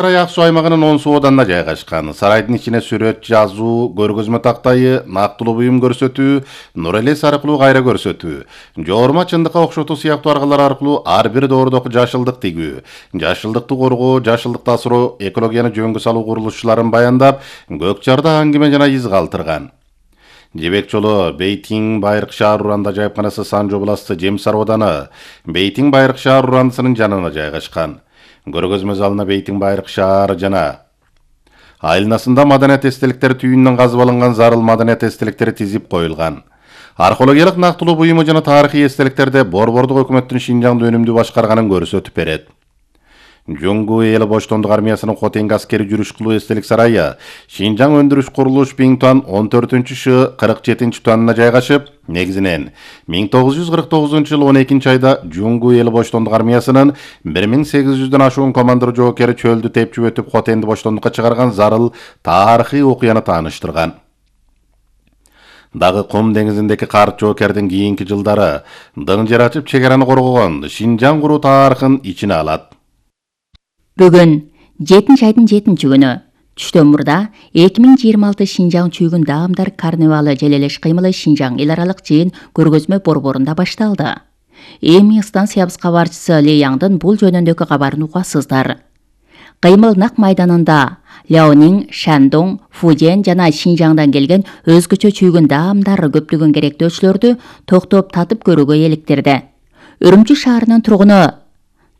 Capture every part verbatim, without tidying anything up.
Сарай ак суу аймагынын он суу оданына жайгашкан. Сарайдын ичине сүрөт, жазуу, көргөзмө тактайы, нактылуу буюм көрсөтүү, нур элес аркылуу кайра көрсөтүү, жоорма чындыкка окшотуу сыяктуу аргалар аркылуу ар бир доордок жашылдык тигүү, жашылдыкты коргоо, жашылдыкты асыроо, экологияны жөнгө салуу курулушчуларын баяндап, көк чарда аңгеме жана из калтырган. Жебек жолу Бейтин Байыркы шаар уранда жайыпканасы Санжо областы Жемсар ооданы Бейтин Байыркы шаар урандысынын жанына жайгашкан. Көргөзмө залына Бейтин Байыркы шаары жана айылнасында маданият эстеликтери түйүнүнөн казып алынган зарыл маданият эстеликтери тизип коюлган. Археологиялык нактылуу буюму жана тарыхый эстеликтерде борбордук өкмөттүн Шинжаңды өнүмдүү башкарганын көрсөтүп берет. Жуңгу эли боштондук армиясынын Хотенги аскери жүрүш кылуу эстелик сарайы Шинжаң өндүрүш курулуш Биңтуан он төртүнчү шы кырк жетинчи туанына жайгашып, негизинен миң тогуз жүз кырк тогузунчу жылы он экинчи айда Жуңгу эли боштондук армиясынын бир миң сегиз жүздөн ашуун командир жоокери чөлдү тепчип өтүп Хотенди боштондукка чыгарган зарыл тарыхый окуяны тааныштырган. Дагы Кум деңизиндеки карт жоокердин кийинки жылдары дың жер ачып чек араны коргогон Шинжаң куруу тарыхын ичине алат. Бүгүн жетинчи айдын жетинчи күнү түштөн мурда эки миң жыйырма алты Шинжаң чүйгүн даамдар карнавалы желелеш кыймылы Шинжаң эл аралык жыйын көргөзмө борборунда башталды. Эми станциябыз кабарчысы Ли Яңдын бул жөнүндөгү кабарын угасыздар. Кыймыл нак майданында Ляонин, Шандong, Фуден жана Шинжаңдан келген өзгөчө чүйгүн даамдар көптөгөн керектөөчүлөрдү токтоп татып көрүүгө эликтирди. Үрүмчү шаарынын тургуну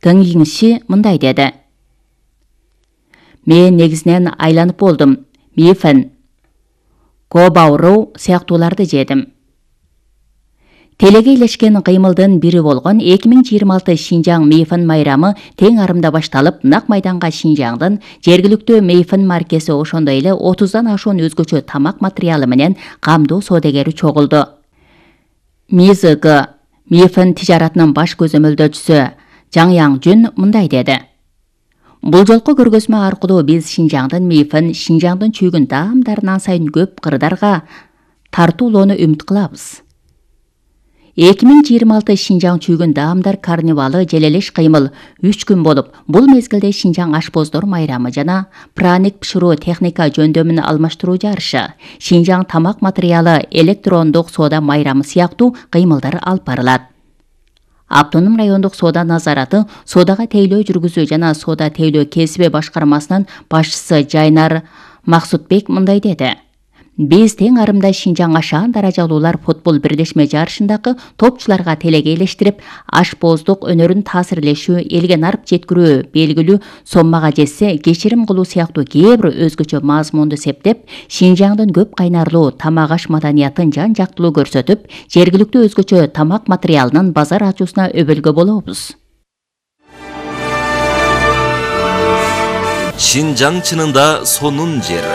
Тың Йиңши мындай деди. Мен негизинен айланып болдум. Мифен, Кобауру сыяктууларды жедим. Телеге илешкен кыймылдын бири болгон эки миң жыйырма алты Шинжаң Мейфен майрамы тең арымда башталып, нак майданга Шинжаңдын жергиликтүү Мейфен маркеси ошондой эле отуздан ашуун өзгөчө тамак материалы менен камдоо соодагери чогулду. МИЗГ Мейфен тижаратынын баш көзөмөлдөөчүсү Жаң Яңжүн мындай деди. Бул жолку көргөзмө аркылуу биз Шинжаңдын Мейфен, Шинжаңдын чүйгүн даамдарынан сайын көп кырдарга тартуулоону үмүт кылабыз. эки миң жыйырма алты Шинжаң чүйгүн даамдар карнавалы желелеш кыймыл үч күн болуп, бул мезгилде Шинжаң ашпоздор майрамы жана праник пышыруу техника жөндөмүн алмаштыруу жарышы, Шинжаң тамак материалы электрондук соода майрамы сыяктуу кыймылдар алып барылат. Автоном райондук соода назараты, соодага тейлөө жүргүзүү жана соода тейлөө кесиби башкармасынын башчысы Жайнар Максутбек мындай деди. Биз тең арымда Шинжаң ашаан даражалуулар футбол бирдешме жарышындагы топчуларга телеге элештирип, ашпоздук өнөрүн таасирлешүү, элге нарып жеткирүү белгилүү соммага жетсе, кечирим кылуу сыяктуу кээ бир өзгөчө мазмунду септеп, Шинжаңдын көп кайнарлуу тамак аш маданиятын жан жактылуу көрсөтүп, жергиликтүү өзгөчө тамак материалынын базар ачуусуна өбөлгө болобуз. Шинжаң чынында сонун жер.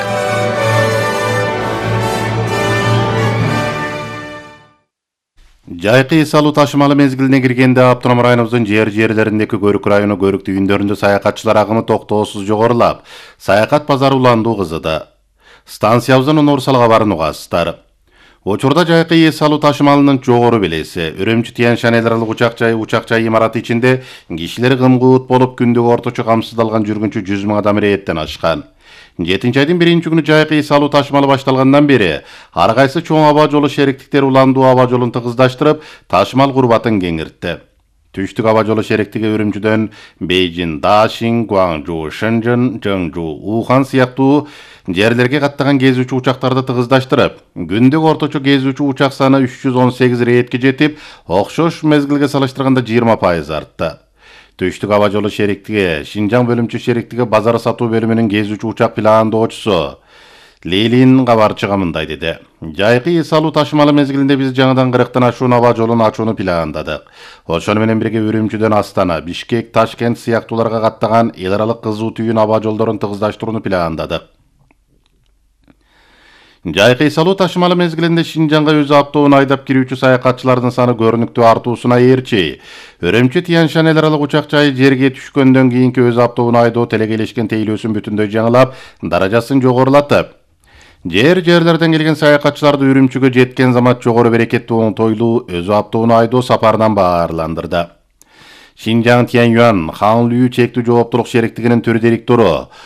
Жайкы эс алуу ташымалы мезгилине киргенде автоном районубуздун жер жерлериндеги Көрүк району Көрүк түйүндөрүндө саякатчылар агымы токтоосуз жогорулап, саякат базары уландуу кызыды. Станциябыздын Нурсал кабарын угасыздар. Учурда жайкы эс алуу ташымалынын жогору белеси, Үрүмчү Тянь-Шань эл аралык учак жайы учак жай имараты ичинде кишилер кымгуут болуп күндүк орточо камсыздалган жүргүнчү жүз миң адам ирээттен ашкан. жетинчи айдын биринчи күнү жайкы эс алуу ташымалы башталгандан бери ар кайсы чоң аба жолу шериктиктери уландуу аба жолун тыгыздаштырып, ташымал курбатын кеңиртти. Түштүк аба жолу шериктиги Үрүмчүдөн Бейжин, Дашин, Гуаңжу, Шэньчжэн, Чжэнжу, Ухан сыяктуу жерлерге каттаган кезүүчү учактарды тыгыздаштырып, күндүк орточо кезүүчү учак саны үч жүз он сегиз рейдке жетип, окшош мезгилге салыштырганда жыйырма пайыз артты. Түштүк аба жолу шериктиги Шинжаң бөлүмчө шериктиги базар сатуу бөлүмүнүн кезүүчү учак пландоочусу Лилин кабарчыга мындай деди. Жайкы эс алуу ташымалы мезгилинде биз жаңыдан кырктан ашуун аба жолун ачууну пландадык. Ошону менен бирге Үрүмчүдөн Астана, Бишкек, Ташкент сыяктууларга каттаган эл аралык кызуу түйүн аба жолдорун тыгыздаштырууну пландадык. Жайкы эс алуу ташымалы мезгилинде Шинжаңга өз автоун айдап кирүүчү саякатчылардын саны көрүнүктүү артуусуна ээрчи, Үрүмчү Тянь-Шань эл аралык учак жайы жерге түшкөндөн кийинки өз автоун айдоо телегелешкен тейлөөсүн бүтүндөй жаңылап, даражасын жогорулатып, жер жерлерден келген саякатчыларды Үрүмчүгө жеткен замат жогору берекеттүү оңтойлуу өз автоун айдоо сапарынан баарландырды. Шинжаң Тяньюан Ханлю чектүү жооптулук шериктигинин төр директору